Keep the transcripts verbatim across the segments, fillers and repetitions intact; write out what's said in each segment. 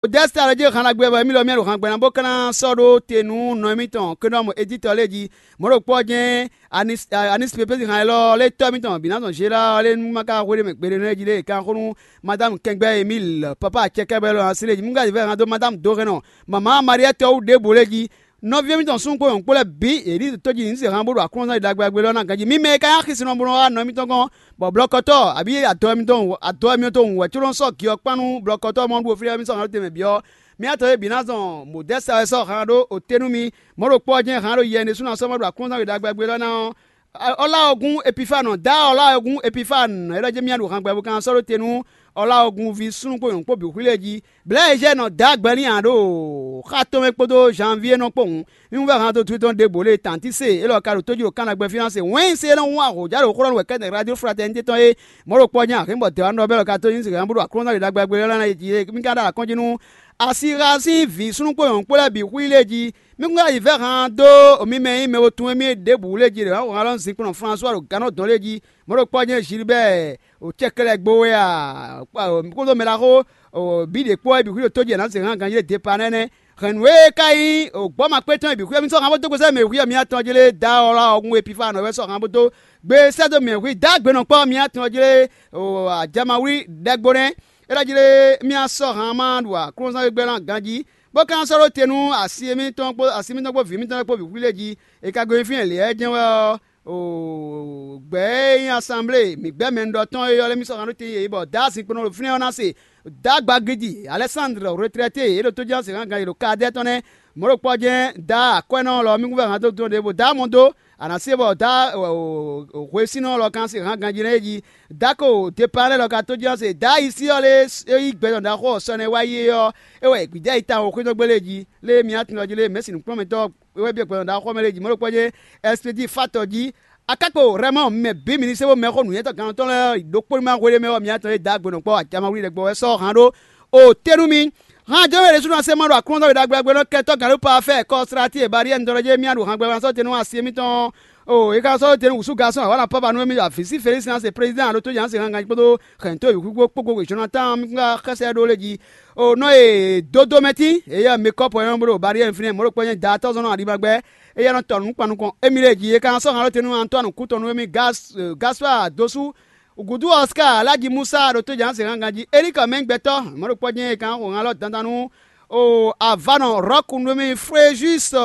Dɛ́sítà lɔ jí han ɖagbe bɔ émí lɔ mì ɖo han gbɛ́ ná bó ka ná sɔ́ ɖó te nú nɔ émítɔn Kenɔmu Editɔ lɛ́ɛ jí. Mɔ̌ ɖokpó ɔ́ jɛ́n Anis Pepezi han élɔ́ lɛ́ tɔ́ émítɔn bǐ ná zɔn Zela ɔ́ lɛ́ɛ nú ma ka hwe ɖ'é mɛ gbeɖé nɛ́ jí lé è ka xó nú Madámu Kɛngbɛ́ Emíl, papa acɛkɛ́bɛ́ lɔ ǎ sí lɛ́ɛ jí. Mú ka vɛ́ han dó Madámu Dóhɛnnɔ, mamǎ Mariɛ́tɔ wú ɖěbǔ lɛ́ɛ jí. Nɔví émítɔn súnnu kpó nyɔ̌nu kpó lɛ́ɛ bǐ è nǐ ɖo tójí ní se han bó ɖo aklúnɔzán ɖagbe ɖagbe lɔ ná ganjí. Mì mɛ e ka nyí axi sin nɔ bó nɔ wá nɔ émítɔn gɔ́n, bɔ blɔkɔtɔ́ abǐ adɔ émítɔn adɔ émítɔn wú wɛ có nɔ sɔ́ gi ɔ́ kpán nú blɔkɔtɔ́ mɔ ɖu fínɛ́ mì sɔ́ han ɖó te mɛ bǐ ɔ́, mì atɔn e bǐ ná zɔn mɔ̌dɛ́sa wɛ sɔ́ han ɖó oté nú mì. Mɔ̌ ɖokpó ɔ́ jɛ́n han ɖo yɛ ɖésú ná sɔ́ mɔ ɖo aklúnɔzán ɖagbe ɖagbe lɔ ná ɔ́. Ɔ́ lá ɔ́ gún Epifánu, dǎ ɔ́ lá ɔ́ gún Epifánu, é ɖɔ jɛ́n mì ɖo han gbɛ bó ka sɔ́ ɖó te nú ɔ́ lá ɔ́ gún ví súnnu kpó nyɔ̌nu kpó bǐ xwí lɛ́ɛ jí. Blɛ̌ e zɛ nɔ dǎ gbɛ n'i ǎ ɖo xá tɔn mɛ kpódó Janvíe nɔ kpó hǔn, mì wú vɛ́ han dó dú tɔn ɖěbǔ lé tantí se élɔ́ ka ɖo tójí ɖo Kana gbɛ́fín ná se wɛ́n se e nɔ hún ahǒjá ɖo xó ɖɔ nú wɛ kɛ́nɛ́ radio fraternité tɔn é. Mɔ̌ ɖokpó ɔ́ nyí ahǐnbɔ dɛ̌ wá nɔ bɛ́ lɔ ka tó nyí zǐngán bó ɖo aklúnɔ́ ɖagbe ɖagbe lɛ́ɛ ná jí é. Mì ka ɖo akɔ́njí nú asi ha sín vǐ súnnu kpó nyɔ̌nu kpó lɛ́ɛ bǐ xwí lé jí. Mì kún ka yi vɛ́ han dó mi mɛ e nyí mɛ bo tun émí é ɖěbǔ lé jí ɖě wá han lɔ zinkplɔ́n Flasuwa ɖo gannɔ́ dɔn lé jí. Mɔ̌ ɖokpó ɔ́ nyí Gilbɛ́ɛ o cɛkɛlɛgbo wɛ a, kpódó mɛ ɖaxó bǐ ɖě kpó wɛ bǐ xwí ɖo tójí ɛ nǎ zě hán ganjí ɖé depa nɛ́nɛ́. Hɛ̌nnu e ka nyí gbɔ́ ma kpé tɔn e bǐ xwí ɔ́, mì sɔ́ han bó dó gbèsè mɛ xwí ɔ́, mì atɔn jlé dá ɔ́ lá ɔ́ gún epifa nɔ wɛ sɔ́ han bó dó gbé sɛ́ dó mɛ xwí dá gbe nɔ kpɔ́ mì atɔn jlé ajamawlí ɖɛgbo nɛ́. É ɖɔ jlé mì asɔ́ han ma ɖo aklúnɔzán gbɛ́gbɛ́ ná ganjí, bó ka sɔ́ ɖó te nú asi émítɔn kpó asi mítɔn kpó vǐ mítɔn lɛ́ɛ kpó bǐ xwí lé jí. È ka gosín fínɛ́ lě ɔ́ jɛ́n wɛ ɔ́, gbɛ̌ e nyí asanblée mǐ gbɛ́ mɛ un ɖɔ tɔn e ylɔ́ mì sɔ́ han ɖó te yě bɔ Daa sinkplɔ́n ɖo fínɛ́ ɔ́ ná se. Daa gbagidi Alɛsándr retrɛté e ɖo tójínɔ́ se gán ganyi ɖo Kadɛ́ɛ tɔn nɛ́. Mɔ̌ ɖokpó ɔ́ jɛ́n Daa akwɛ́nɔ lɔ mì kún vɛ́ han dó dɔn ɖěvo Daa mɔ dó a nǎ se bɔ Daa hwesínɔ lɔ kan se hán ganjí nɛ́ é jí. Daa ko depaa lɛ́ɛ lɔ ka tójínɔ́ se Daa yi sí ɔ́ lé é yí gbɛ tɔn ɖaxó ɔ́ sɔ nɛ́ wá yi é ɔ́, é wɛ gbǐjá yi tawun xwé tɔn gbélé jí lé mì atún ɔ́ jí lé mɛ̌si nǔkplɔ́nmɛtɔ́ wɛ byɔ́ gbɛtɔ́ ɖaxó mɛ lɛ́ɛ jí mɔ̌ ɖokpó jɛ́n ɛspedíi fátɔ jí. Akákpo Rɛmɔ mɛ bǐ mi ní se bó mɛ xó nǔnywɛ́tɔ́ gannɔtɔ́ lɛ́ɛ ɖokpó ní ma hwelé mɛ ɔ́, mi atɔn e dǎ gbe nɔ kpɔ́ acamawlí ɖɛkpɔ wɛ sɔ́ han ɖó o tɛ́nú mi. Han jɔ́n e ɖésú ná se ma ɖo aklúnɔzɔ́ we ɖagbe ɖagbe nɔ kɛntɔ́ gǎn ɖó pa fɛ kɔsirati e baɖíyɛ un dɔn jɛ mì ɖo han gbɛgbɛ sɔ́ tɛ́nú asi émítɔn. O é ka sɔ́ tɛ́nú wǔsú gasɔn awǎ na pɔ́ ba nú émí avǐ sí Felísi ná se prezidán alo tó jɛ ná se han ganjí kpódó hɛ̌nto e wǐxwíxwó kpógbó wějɔ́ ná tán mì ká xɛsɛ ɖó lé jí. O nɔ e dódó mɛ tín, eyɛ́ mɛ kɔ́pɔ e nɔ bló Baɖiɛ́nu fínɛ́ mɔ̌ ɖokpó nyí daatɔ́zɔ́n nɔ aɖima gbɛ́, éyɛ́ nɔ tɔ nǔkpannukɔn émí lɛ́ɛ jí. É ka nɔ sɔ́ han ɖó te nú Antɔ́anu kútɔnu émí Gaspaa dó sú gǔdo Ɔskaa Láji Musa ɖo tó jǎn se hángan jí. Elíkɔ mɛ nyí gbɛtɔ́ mɔ̌ ɖokpó jɛ́n é ka nɔ xo han lɔ dandan nú o avánɔ Rɔ́ku nú émí Frejúsi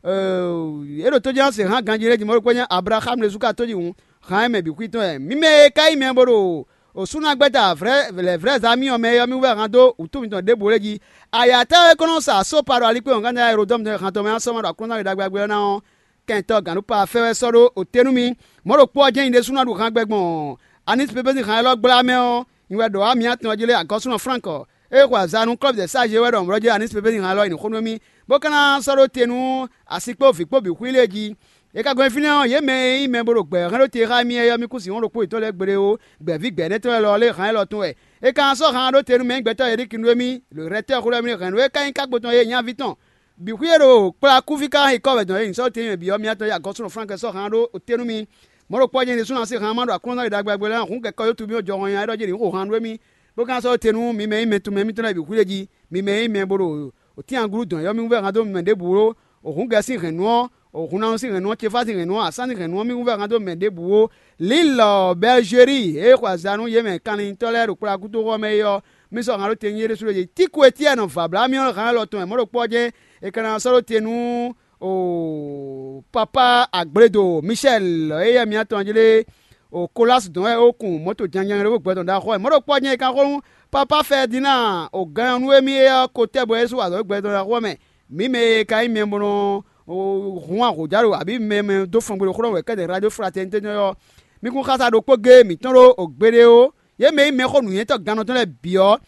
é ɖo tó jǎn se hángan jí lɛ́ɛ jí mɔ̌ ɖokpó nyí Ablaxámu ɖésú ka tó jí hǔn. Han e mɛ bǐ xwí tɔn wɛ. Mi mɛ e ka nyí mɛ bo ɖo Osúnagbɛ́ta vlɛ̌vlɛ́zamiyɔ mɛ é ɔ́, mì wú vɛ́ han dó wǔtu mitɔn ɖěbǔ lɛ́ɛ jí. Ayǎtáyɔ e ko nɔ sa sópa ɖo alikpé wɔ̌ngánná Elodɔ́mu tɔn e han tɔn mɛ ná sɔ́ ma ɖo aklúnɔzán we ɖagbe ɖagbe ɔ́ ná ɔ́, kɛntɔ́ gǎn nú pa fɛ́ wɛ sɔ́ ɖó oté nú mì. Mɔ̌ ɖokpó ɔ́ jɛ́n nyí ɖésú ná ɖu han gbɛ gbɔn Anísi pépé sín han élɔ́ gbla mɛ ɔ́, nyi wɛ ɖɔ wá mǐ atɔn jí lé agɔ́súnɔ Flánk ɔ́. É xo azǎn nú klɔ́bidɛsáji e wɛ ɖɔ mlɔ̌ jɛ Anísi pépé sín han élɔ́ nyi nǔ xó nú émí, bó ka ná sɔ́ ɖó te nú asi kpó vǐ kpó bǐ xwí lɛ́ɛ jí. È ka gɔn fínɛ́ ɔ́, yě mɛ e nyí mɛ bo ɖo gbɛ̌ hɛn ɖó te xá émí é ɔ́, mì kú sixú ɖokpó yětɔn lɛ́ɛ gble ó, gbɛ̌ví gbɛ̌nɛ́tɔ́ lɛ́ɛ lɔ lé han élɔ́ tɔn wɛ. È ka sɔ́ han ɖó te nú mɛ nyí gbɛtɔ́ Elíki nú émí, rɛ̌tɛ́ xwlɛ́ mì hɛ̌nnu e ka nyí kákpo tɔn e nyaví tɔn bǐ xwí e ɖo kplá kúví ka hɛn kɔ́ wɛ dɔn é nyǐsɔ́ tɛ́nmɛ bǐ ɔ́, mì atɔn yá gɔ́ súnɔ Flánk sɔ́ han ɖó oté nú mì. Mɔ̌ ɖokpó ɔ́ jɛ́n ɖésú ná se han ma ɖo aklúnɔzán ɖagbe ɖagbe lɛ́ɛ hǔn kɛkɔ yó tubí ɔ́ jɔhɔn nya é ɖɔ jɛ́n ɖě xo han ɖó émí, bó ka sɔ́ te nú mi mɛ e nyí mɛ tunmɛ émítɔn lɛ́ɛ bǐ xwí lé jí. Mi mɛ e nyí mɛ bo ɖo òtín agúlú dɔn yɔ́mí wú vɛ́ han dó mɛ ɖěbǔ ó. Òhúngɛ sín hɛ̌nnu ɔ́, òhunnanú sín hɛ̌nnu ɔ́, cefá sín hɛ̌nnu ɔ́, asán sín hɛ̌nnu ɔ́, mì wú vɛ́ han dó mɛ ɖěbǔ ó. Lǐlɔ Bɛlizeli e xo azǎn nú yě mɛ kanlintɔ́ lɛ́ɛ ɖo kplɔ́yákútoxɔ mɛ é ɔ́, mì sɔ́ han ɖó te nyi é ɖésú ɖo yě. Tíku e Etyɛ́ɛnu vǎblá mì ɔ́ han élɔ́ tɔn wɛ mɔ̌ ɖokpó ɔ́ jɛ́n è ka ná sɔ́ ɖó te nú o papa agbledo Michɛl e yɛ mǐtɔn jí lé o Kolas dɔn wɛ é kun mɔ̌to janjan ɖokpó gbɛtɔn ɖaxó wɛ. Mɔ̌ ɖokpó ɔ́ jɛ́n è ka xo nú papa Fɛdinaa o ganyɔ́nú e mì é ɔ́ ko tɛ́ bɔ é sú azɔ̌ gbɛtɔn ɖaxó wɛ mɛ. Mǐ mɛ e ka nyí mɛ bó nɔ hun ahǒjá ɖo abǐ mɛ mɛ dó fɔngbe ɖo xó ɖɔ wɛ kɛ́ɖɛ́ radio fraternité tɔn ɔ́, mì kún xása ɖokpó géé mǐtɔn ɖó o gbeɖé ó. Yě mɛ e nyí mɛxó nǔnywɛ́tɔ́ gannɔ tɔn lɛ́ɛ bǐ ɔ́,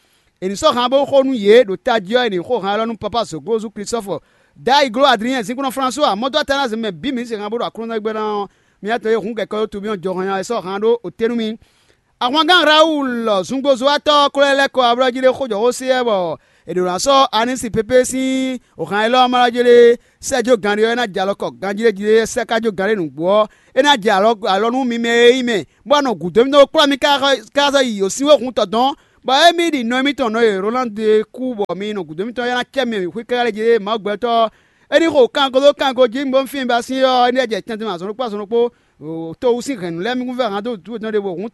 è nǐ sɔ́ han bó xo nú yě ɖo tají ɔ́, è nǐ xo han élɔ́ nú papa Zoglozu Klistɔ́fɔ, Dayigló Adlinyɛn, zinkúnɔ Flasuwa, mɔdó Atanasi mɛ bǐ mǐ se han bó ɖo aklúnɔzán gbɛ́ ná ɔ́, mì atɔn e hǔn kɛkɔ ɔ́ tobí ɔ́ jɔ hɔn nya wɛ sɔ́ han ɖó oté nú mì. Ahwangán Rawulu zungbozowatɔ́ ɔ́ ko lɛ́ lɛ́ kɔ ablɔ́ jí ɖé xó jɔ xó se wɛ bɔ è ɖǒ ná sɔ́ Anisi pépé sín han élɔ́ ɔ́ ma lɔ jí lé sɛ́ jó ganɖé ɔ́, é ná jɛ alɔ kɔ ganjí ɖé jí lé sɛ́ ká jó ganɖé nǔgbó ɔ́, é ná jɛ alɔ alɔ nú mi mɛ e nyí mɛ, bó wá nɔ gǔdo mì dó kplɔ́ mi káká yi yǒsínwéhun tɔn dɔn, Bɔ émí ɖi nɔ émítɔn nɔ e Rolandi e kú bɔ mi nɔ gǔdo mitɔn ɔ́ ná cɛ mi xwé káká lɛ́ɛ jí é Mawu gbɛtɔ́ ɔ́, é ní xo kango dó kango jí bó fín ba sín ɔ́, é ní jɛ tɛntin azɔn ɖokpó azɔn ɖokpó to wú sín hɛ̌nnu lɛ́ɛ mi kún vɛ́ han dó wǔtú yětɔn ɖěvo hǔn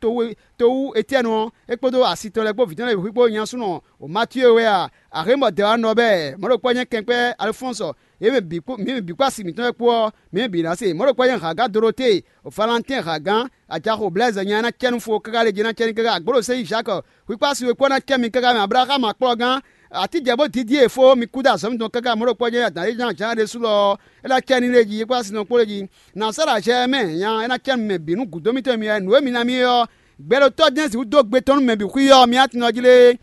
to wú Etyɛ́nu ɔ́, é kpódó asi tɔn lɛ́ɛ kpó vǐ tɔn lɛ́ɛ bǐ xwíxwó nyasúnɔ Matíe wɛ a? Axémɔ dɛwánɔ bɛ́ mɔ̌ ɖokpó ɔ́ nyɛ́ kɛnkwɛ́ Alfɔ́nsɔ, yě mɛ bǐ kpó mǐ mɛ bǐ kpó asi mǐtɔn wɛ kpó ɔ́, mǐ mɛ bǐ ná se. Mɔ̌ ɖokpó ɔ́ nyɛ́ Haga Dolotée, Valantɛ́n Hagan, ajaxo Blɛ́zɛ nya e ná cɛ nú fo káká lě jí ná cɛ ní káká agbǒɖosɛ́yi Zǎkɔ, xwíkpási we kpó ná cɛ mi káká mɛ Ablaxámu akplɔ́gán, atíjɛ bó dídí e fó mi kú dó azɔ̌ mitɔn káká mɔ̌ ɖokpó ɔ́ nyɛ́ Dǎníyɛ́li jan ɖésú lɔ ɔ́, é ná cɛ ní lě jí, é kpó asi tɔn kpó lě jí. Nǎ sɔ́ ɖo azɛ mɛ nya é ná cɛ nú mɛ bǐ nú gǔdo mitɔn e mi wɛ nǔ e mi ná mì é ɔ́, gbɛɖotɔ́ jɛ́n sixú dó gbe tɔn nú mɛ bǐ xwí ɔ́, mi ná tunwun jí lé.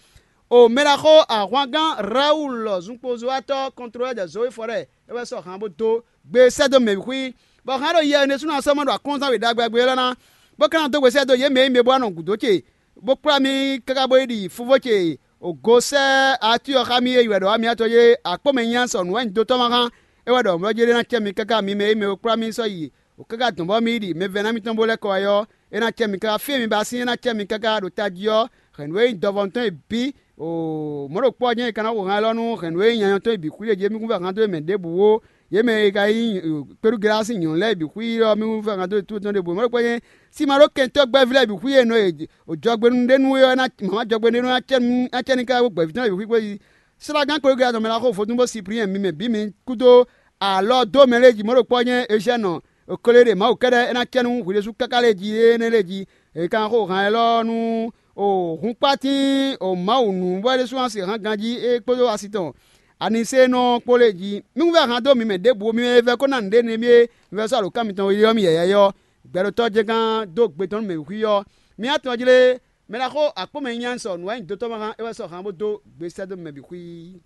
O mɛɖaxó ahwangán Rawulu lɔ zunkpozuwatɔ́ kɔntlɔ́lɛ́ jɛ Zowe Fɔrɛ́ɛ é wɛ sɔ́ han bó dó gbe sɛ́ dó mɛ bǐ xwí, bɔ hɛn ɖo yɛ énɛ́ sú ná sɔ́ mɔ ɖo aklúnɔzán we ɖagbe ɖagbe élɔ́ ná, bó ka ná dó gbe sɛ́ dó yě mɛ e nyí mɛ bó wá nɔ gǔdo ce, bó kplá mì káká bó yi ɖi fúvó ce o go sɛ́ atín ɔ́ xá mì e yi wɛ ɖɔ wá mì atɔn yé akpó mɛ nyanya sɔ nǔ wɛ nyi dó tɔ́ ma xá. É wɛ ɖɔ mɔ̌ jí é ná cɛ mi káká mi mɛ e mɛ e kplá mì sɔ́ yi o káká dɔn bɔ mì yi ɖi mɛ vɛ́ná mitɔn bó lɛ́ kɔ wá ɔ́, é ná cɛ mi káká fí e mi ba sín é ná cɛ mi káká ɖo tají ɔ́, hɛ̌nnu e nyí dɔvɔnu tɔn e bǐ o mɔ̌ ɖokpó ɔ́ jɛ́n è ka ná xo han élɔ́ nú hɛ̌nnu e nyanya tɔn e bǐ xwíɖe jí mì kún vɛ han dó mɛ ɖěbǔ ó. Yě mɛ e ka nyí kpéɖúgelá sín nyɔ̌nu lɛ́ɛ bǐ xwí ɔ́, mì kún vɛ han dó tɔn ɖěbǔ. Mɔ̌ ɖokpó jɛ́n síma ɖó kɛntɔ́gbɛ́ví lɛ́ɛ bǐ xwí e nɔ e jɔgbenúɖénú é ɔ́, mǎmá jɔgbenúɖénú ná cɛ ní ká gbɛ̌ví tɔn lɛ́ɛ bǐ xwí xwé. Slágán kpéɖúgelá tɔn mɛ ná xo vodún bó Sipliyɛn mi mɛ bǐ mi kúdó alɔ dó mɛ lɛ́ɛ jí. Mɔ̌ ɖokpó ɔ́ jɛ́n Ezhɛ́nɔ Kolée ɖe Mawu kɛ́ɖɛ́ é ná cɛ nú hwi ɖésú káká lɛ́ɛ jí énɛ́ lɛ́ɛ jí. È ka xo han élɔ́ nú o hunkpátín o Mawu nǔ bɔ é ɖésú ná se hán ganjí é kpódó asi tɔn Aniséenɔ kpó lɛ́ɛ jí. Mí kún vɛ́ han dó mi mɛ ɖěbǔ mi mɛ e vɛ́ kó ná nǔɖé nú émí é mi vɛ́ sɔ́ alǒkan mitɔn yɔ́ mì yɛ̌yɛ́ ɔ́, gbɛɖotɔ́ jɛ́n gán dó gbe tɔn nú mɛ wǔxwí ɔ́. Mi atɔn jí lé, mɛ ɖaxó akpó mɛ nyanya sɔ nǔ wɛ nyi dotɔ́ ma hán é wɛ sɔ́ han bó dó gbe sɛ́ dó mɛ bǐ xwí.